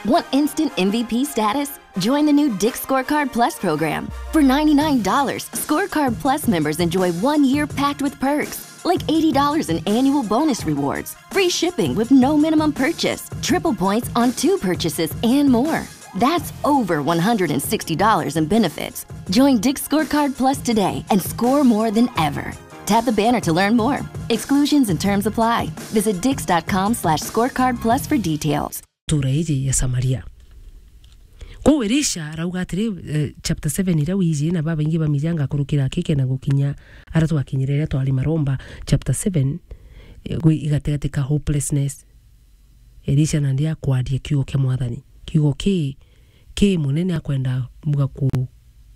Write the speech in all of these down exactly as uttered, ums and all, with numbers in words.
Want instant M V P status? Join the new Dick's Scorecard Plus program. For ninety-nine dollars, Scorecard Plus members enjoy one year packed with perks, like eighty dollars in annual bonus rewards, free shipping with no minimum purchase, triple points on two purchases, and more. That's over one hundred sixty dollars in benefits. Join Dick's Scorecard Plus today and score more than ever. Tap the banner to learn more. Exclusions and terms apply. Visit dicks.com slash scorecard plus for details. Ntura iji ya Samaria. Kwou Elisha arauga atiri, eh, chapter seven iria wiji na babaingi bamijanga kurukira akike na gukinya ara twakinyire iria twari maromba, chapter seven, eh, gwi igatigati ka hopelessness. Elisha nandi akwaria kiugo kia Mwathani. Kiugo ki, ki munene akwenda muga ku,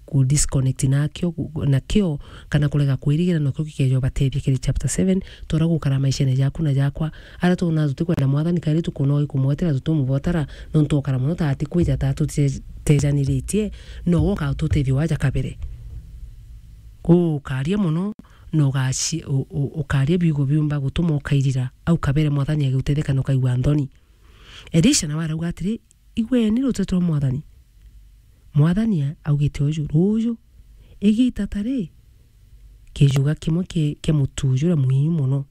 ku disconnect nakio, ku, nakio, kana kurega kwirigira nakio gikeja ubatethia kiri chapter seven, tora gukara maishene jaku na jakwa. Ara twona tutikwenda Mwathani, kairi tukona ui kumwetera, tutumubotara, nontu okara mono ta atikwija ta tute-, tejaniritie, no woka tutethia waja kabere. Kwou ukaria mono, na ugaci-, u-, u-, ukaria biugo biumba gutuma ukairira, au kabere Mwathani agigutetheka na ukaigua nthoni. Elisha nawe arauga atiri, "Igweni ruteto rwa Mwathani." Mwathani a-, augite uju, "Ruuju, igita ta ri, kijuga kimwe ki-, kia mutu juria mwingi mono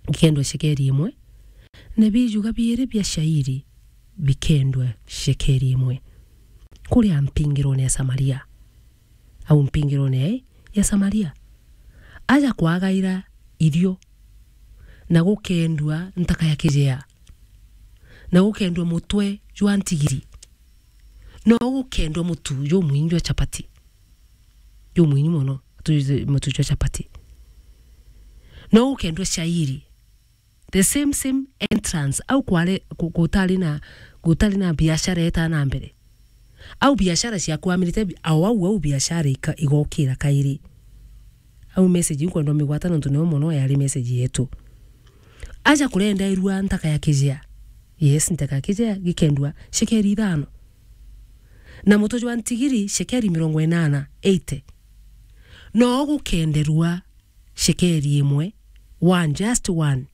gikendwa shekeri imwe, na bijuga biiri bia shairi bikendwa shekeri imwe kuria mpingirone ya Samaria." Au mpingirone ya, ya Samaria. Aja kwagaira irio, na gukendua ntaka ya kijea, na gukendua mutwe jwa ntigiri, no gukendua mutu jumwingi jwa chapati, jumwingi mono, tu-, mutu jwa chapati, no gukendua shairi, the same, same entrance, au kware, ku-, gutari na, gutari na biashara eta na mbere. Au biashara ciakwamirite bi-, au, au, au biashara ika-, igokira kairi. Au message iu nkwenda umigwata nontu niyo mono yari message yetu. Aja kurenderua ntaka ya kijea. Yes, ntaka ya kijea gikendua shekeri ithano. Na mutu jwa ntigiri shekeri mirongo inana, eighty. No gukenderua shekeri imwe, one, just one,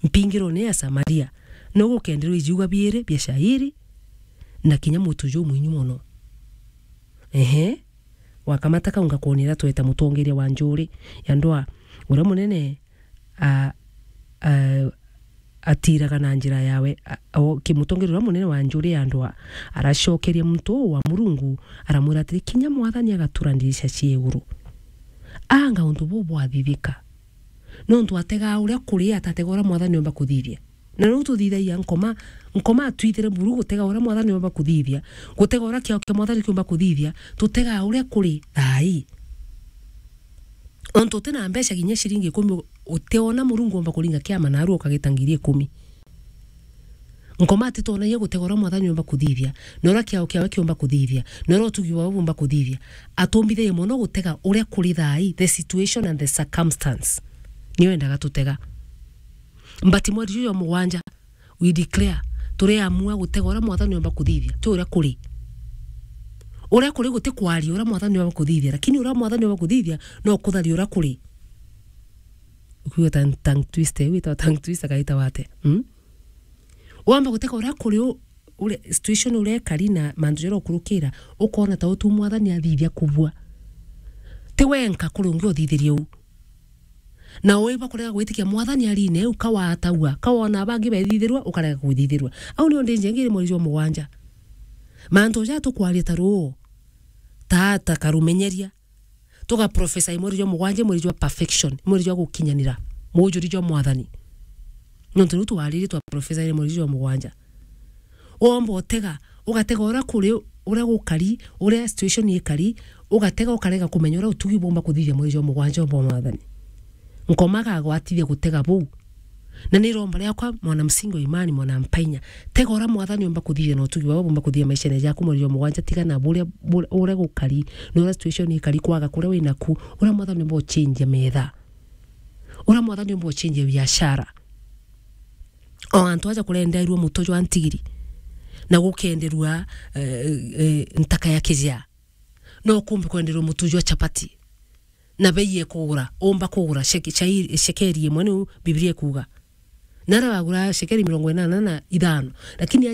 mpingirone ya Samaria, no gukenderwa ijiuga biiri bia shairi, na kinya mutu jumwinyu mono. Ehe, wakamata kau ngakwonera tweta mutongeria wa njuri ya ndwaa, uria munene, a, a, atiraga na njira yawe, a, o, ki-, mutongeria uria munene wa njuri ya ndwaa aracokeria muntu uu wa Murungu, aramwira atiri, "Kinya Mwathani agatura ndirisha cia iguru." Anga untu buu bwathithika? Nontu ategaa uria kuri, atatega uria Mwathani omba kuthithia. Na riu tuthithagia nkoma, nkoma atwithire buru gutega uria Mwathani omba kuthithia, gutega uria kiao kia Mwathani kiumba kuthithia, tutegaa uria kuri thaai. Ontu uti na mbeca kinya ciringi ikumi, u-, utiona Murungu omba kuringa kiama naru ukagita ngiri ikumi. Nkoma atitonagia gutega uria Mwathani omba kuthithia, na uria kiao kiawe kiumba kuthithia, na uria utugi bwawe bumba kuthithia. Atumbithagia mono gutega uria kuri thaai, the situation and the circumstance. Nio endaga tutega. But mweri juju jwa mugwanja, we declare, turiamua gutega uria Mwathani omba kuthithia, ti uria kuri. Uria kuri guti kwaria uria Mwathani omba kuthithia, lakini uria Mwathani omba kuthithia no kutharia uria kuri. Ukiuga tongue, tongue twister, wita tongue twister kaita wate. Hmm? Wamba gutega uria kuri u-, uria situation uria ikari na mantu jaria ukurukira, ukona ta utu Mwathani athithia kubua. Ti wenka kuri ungi uthithirie u. Na uiba kurega gwitikia Mwathani arine u, ka watagua, ka wona bangi bethithirua, ukarega kwithithirua. Au nio ndinjengire mweri jwa mugwanja. Mantu ja tukwaria ta ruu, ta, ta karumenyeria. Tuga prophesy mweri jwa mugwanja, mweri jwa perfection, mweri jwa gukinyanira, mujuri jwa Mwathani. Nontu riu twaririe twa prophesy mweri jwa mugwanja. Womba utega, ugatega uria kuri, uria gukari, uria situation ikari, ugatega ukarega kumenya uria utugi bumba kuthithia mweri jwa mugwanja bwa Mwathani. Nkoma agagwatithia gutega buu. Na ni iromba riakwa, mwana msingi wa imani, mwana mpainya. Tega uria Mwathani omba kuthithia na utugi bwawe bumba kuthithia maishene jaku mweri jwa mugwanja, tiga na buria, buria, uria gukari, na uria situation ikari kwaga kuria winaku, uria Mwathani omba uchenjia metha. Uria Mwathani omba uchenjia biashara. O antu aja kurenderua muto jwa ntigiri, na gukenderua, eh, eh, ntaka ya kijea. No kumbe kwenderwa mutu jwa chapati. Na bei ekugura, umba kugura sheke-, shai-, shekeri imwe, niu Biblia ikuuga. Na aria wagura shekeri mirongo inana na ithano, lakini